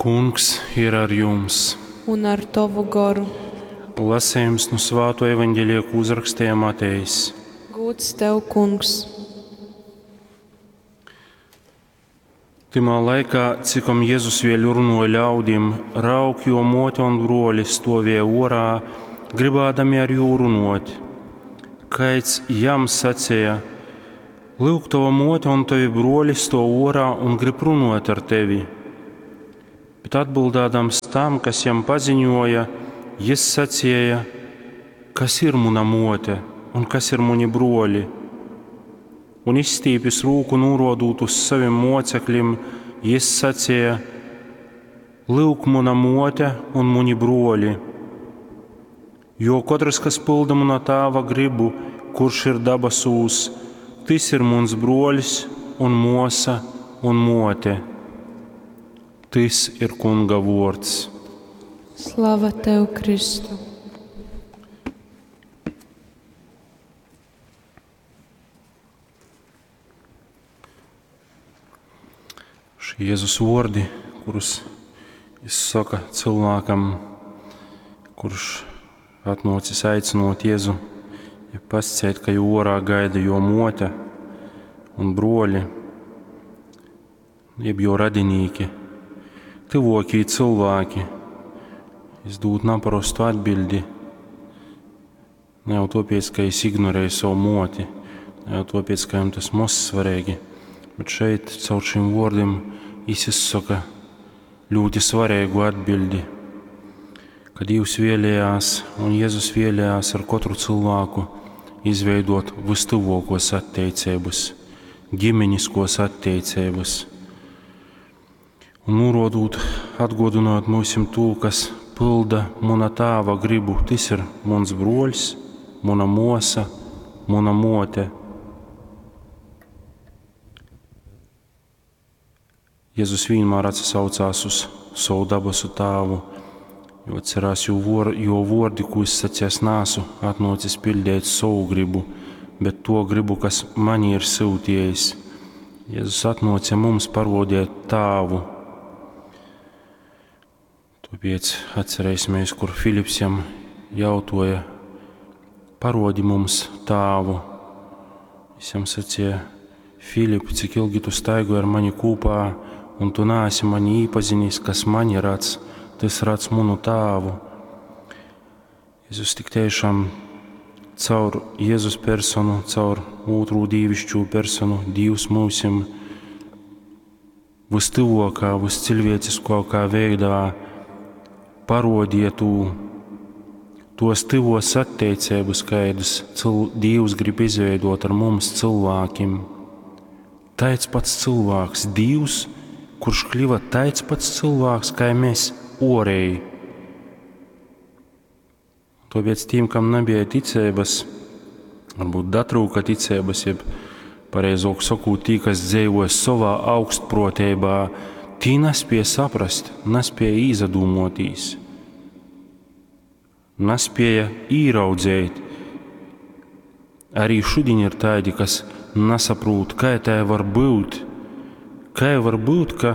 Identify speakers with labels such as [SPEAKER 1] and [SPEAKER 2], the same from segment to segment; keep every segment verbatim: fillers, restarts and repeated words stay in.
[SPEAKER 1] Kungs ir ar jums!
[SPEAKER 2] Un ar tovu goru.
[SPEAKER 1] Lasījums no Svāto evaņģēlija, ko uzrakstīja Matejs.
[SPEAKER 2] Gūds tev, Kungs!
[SPEAKER 1] Tymā laikā, cikom Jezus vēļ runoja ļaudim, raug, jo mote un broļi stovēja orā, gribādami ar jū runot. Kaids jam sacīja: Lūk, tava mote un tavi broļi stov orā un grib runot ar tevi. Bet atbildādams tam, kas jam paziņoja, jis sacīja: Kas ir muna mote un kas ir muni broļi? Un izstīpis rūku norodot uz saviem mocekļiem, jis sacīja: Lūk, muna mote un muni broļi. Jo katrs, kas pilda muna tāva gribu, kurš ir dabasūs, tas ir mans broļs un mosa un mote. Tys ir Kunga vārds.
[SPEAKER 2] Slava tev, Kristu!
[SPEAKER 1] Šie Jēzus vārdi, kurus viņš saka cilvēkam, kurš atnācis aicinot Jēzu, ja pasciet, ka jū orā gaida jo mote un broļi, jeb jo radinīki, tuvokie cilvēki. Es dod naparastu atbildi. Ne jau tāpēc, ka es ignorēju savu moti, ne jau tāpēc, ka jam tas maz svarīgi, bet šeit caur šiem vārdiem es izsaka ļoti svarīgu atbildi, ka Dievs vēlējās un Jēzus vēlējās ar katru cilvēku izveidot vistuvākos attiecības, ģimeniskos attiecības. Un norodot, atgodinot mums to, kas pilda muna tāva gribu, tas ir mans broļs, muna mosa, muna mote. Jēzus vienmēr atsaucās uz savu dabasu tāvu, jo atcerās, jo, vor, jo vordi, ko es sacīju, es nāsu atnācis pildīt savu gribu, bet to gribu, kas mani ir sūtījis. Jēzus atnāca mums parodīt tāvu. Tāpēc atcerēsimies, kur Filips jam jautoja: parodi mums tāvu. Es jam sacīja: Filip, cik ilgi tu staigoji ar mani kopā, un tu neesi mani īpazinis, kas mani redz, tas redz manu tāvu. Jēzus tik tiešām caur Jēzus personu, caur otru dīvišķo personu, Dievs mūsim vistuvākā, viscilvēciskākā veidā parodīja tū, tos tuvos attiecības, kādas cil, Dievs grib izveidot ar mums cilvēkiem. Tāds pats cilvēks, Dievs, kurš kļuva tāds pats cilvēks, kā mēs orēji. Tāpēc tiem, kam nebija ticības, varbūt datrūka ticības, jeb pareizāk sakot, tī, kas dzīvoja savā augstprotībā, tī nespēja saprast, nespēja īzadūmotīs, nespēja īraudzēt. Arī šodien ir tādi, kas nesaprot, kā tā var būt. Kā var būt, ka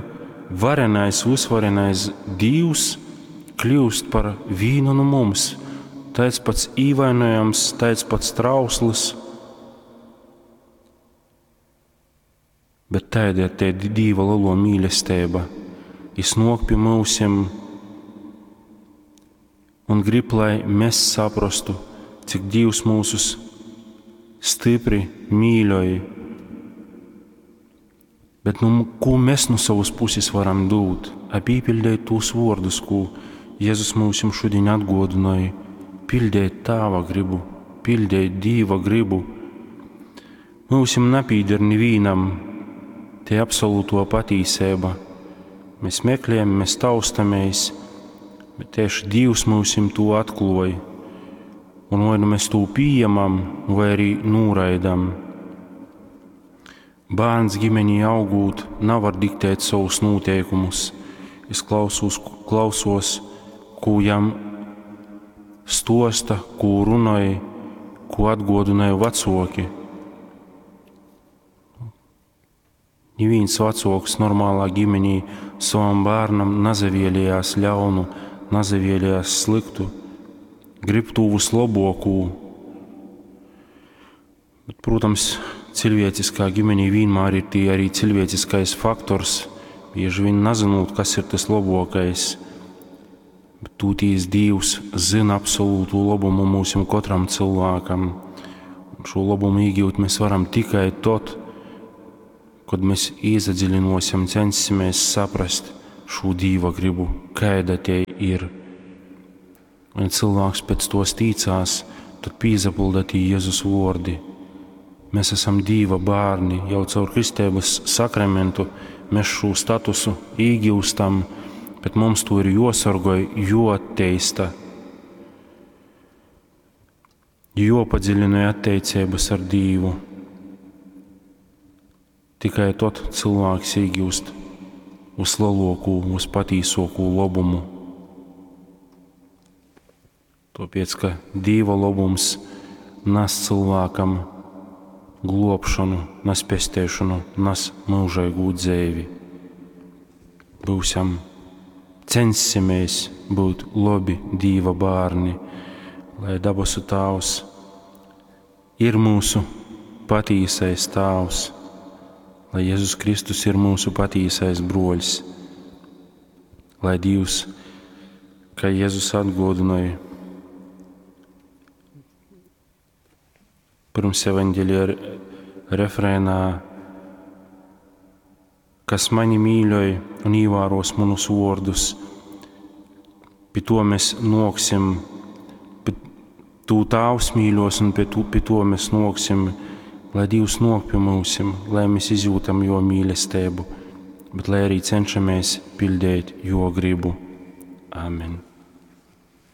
[SPEAKER 1] varenais, visvarenais Dievs kļūst par vienu no mums, tāds pats īvainojams, tāds pats trausls. Bet tāda ir te Dieva lielo mīlestība. Jis nāk pie mūsim un grib, lai mēs saprastu, cik Dievs mūsus stipri mīļoja. Bet nu, ko mēs no savas puses varam dot? Ap īpildīt tos vārdus, ko Jēzus mums šodien atgodināja. Pildīt Tāva gribu, pildīt Dieva gribu. Mūsim nepīder nevienam te absolūto patīsība. Mēs meklējam, mēs taustamies, bet tieši Dievs mūsim to atklāja. Un vai nu mēs to pieņemam, vai arī noraidam. Bērns ģimenī augot nevar diktēt savus noteikumus. Es klausos, klausos, ko jam stosta, ko runāja, ko atgodināja vecoki. Neviens vecāks normālā ģimenī Sovam bārnam nazavielejās ļaunu, nazavielejās sliktu, grib tū vislobuokū. Bet, protams, cilvēciskā ģimenī vienmēr ir tie arī cilvēciskais faktors, bieži vien nezinot, kas ir tas labākais. Bet tūtīs Dievs zina absolūtu labumu mūsim katram cilvēkam. Un šo labumu iegūt mēs varam tikai tad, kad mēs iesadziļinosim, censimies saprast šo Dieva gribu, kāda tie ir. Un cilvēks pēc tos ticās, tad pīzapilda tie Jēzus vārdi. Mēs esam Dieva bērni, jau caur kristības sakramentu mēs šo statusu iegūstam, bet mums to ir josargoj, joatteista, jopadziļina attiecības ar Dievu. Tikai tad cilvēks iegūst vislielāko, vispatīsāko labumu. Tāpēc, ka Dieva labums nes cilvēkam globšanu, nes pestēšanu, nes mūžīgu dzīvi. Būsim, censimies būt labi Dieva bērni, lai dabasu Tēvs ir mūsu patīsais Tēvs, lai Jēzus Kristus ir mūsu patīsais broļs, lai Dievs, kā Jēzus atgodināja pirms evaņģēlija refrēnā, kas mani mīļoj un ievēros manus vārdus, pie to mēs noksim, pie tū Tēvs mīļos un pie, tu, pie to mēs noksim, lai Dievs nok pie mūsim, lai mēs izjūtam jo mīlestību, bet lai arī cenšamies pildīt jo gribu. Amen.